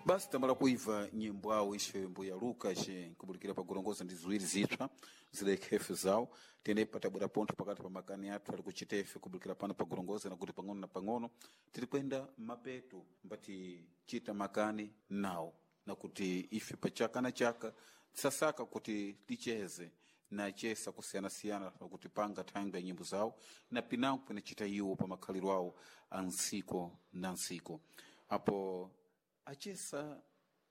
Basi tambala kuiva nyimbo awo ishe mbuya Luka ishe nkubulikira pakulongoza ndi ziwiri zipsa zilekhefe zawo tene patabwera pontho pakati pa makani athu ali kuchitefe kubulikira pano pakulongoza nakuti pang'ono na pang'ono tiri kwenda mapeto mbati chita makani nawo nakuti ife pachaka na chaka tisasaka kuti ticheze nachesa kusiyanasiyana pakuti panga thangwi ya nyimbo zawo na pinango pinachita iwo pa makhaliro awo a ntsiko na ntsiko apo achesa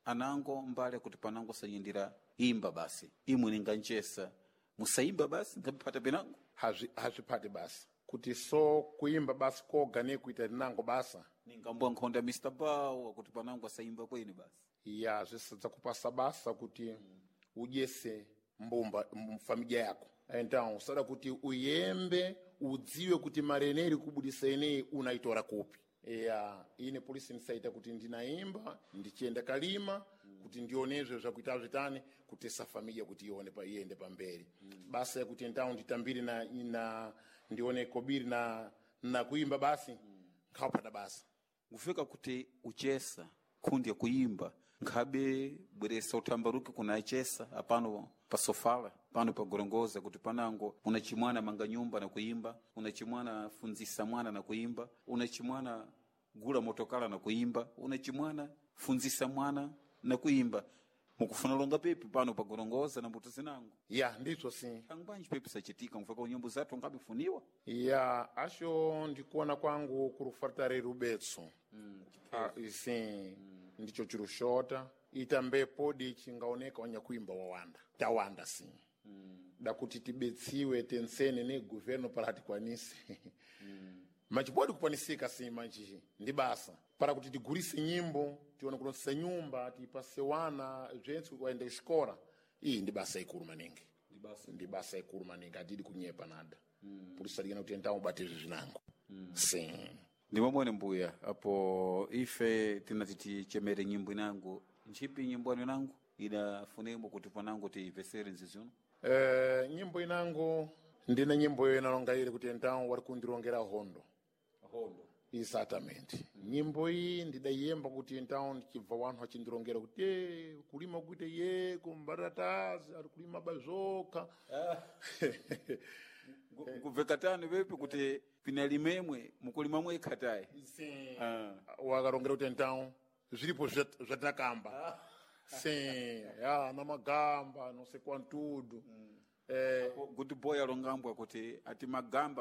anango mbale kuti panango sanyindira imba basi imwe ninganchesa musaimba basi nkaphata pinango. Hazviphati basa kuti so kuimba basi koga nekuita rinango basa. Ningambwa nkhonda Mr. Bow kuti panango asaimba kweni basi. Ya, zvisadza kupasa basa kuti udyese mbumba mfamilia yako. Então usada kuti uyembe udziwe kuti mari ineyi iri kubudisa ineyi unaitora kupi. Ya, ine polisi ndisaita kuti ndinaimba ndichienda kalima kuti ndionezve zvakuita zvitani kutesa familia kuti ione pa iende pamberi. Basa yakuti então nditambire na ndione kobiri na kuimba basi nkhauphata basa. Kufika kuti uchesa khundi yakuimba nkhabe bweresa uthambaruke kuna achesa apano pasofala pano pagorongoza kuti panango unachimwana manga nyumba na kuimba, unachimwana funzisa mwana na kuimba, unachimwana gula motokala na kuimba, unachimwana funzisa mwana na kuimba. Mukufuna longa pepi pano pagorongoza na mbuto zinango. Ya, ndizvo sim. Thangwanji pepi sachitika mfaka nyimbo zathu ngabifuniwa. Ya, asho ndikuona kwangu kuri kufarita rubetso. Sim, ndicho chirushota itambe podi chingaoneka wanyakuimba wawanda tawanda sim. Dakuti tibetsiwe tensene ne governo para tikwanise. Machipodi kukwanisika sim manji ndi basa para kuti tigurise nyimbo tione kulonsa nyumba tipase wana zvense waende kuxikora. Iyi ndi basa ikulu maningi, ndi basa ikulu maningi, atidi kunyepa nada. Purisalikana kuti entawo ubate izvi zvinango sim. Ndi momwene mbuya apo ife tinati tichemere nyimbo inango ntchipi nyimbo anu inango idafunemo kuti panango tiyipesere nzizino. Nyimbo inango ndine nyimbo iyo inalonga ile kuti entawo wari kundirongera hondo. Hondo. Exatamente. Nyimbo iyi ndidayemba kuti então ndichibva wanhu achindirongera kuti "Eh, kulima kuite ye kumbatatazi ari kulima bazvoka." Kubveka tani pepi kuti pinalimemwe mukulima mwekhatayi. Sim. Ah. Wakarongera kuti então zviripo zvatakamba. Sim, ya na magamba não sei quantudo. Kuti boy alongambwa kuti ati magamba.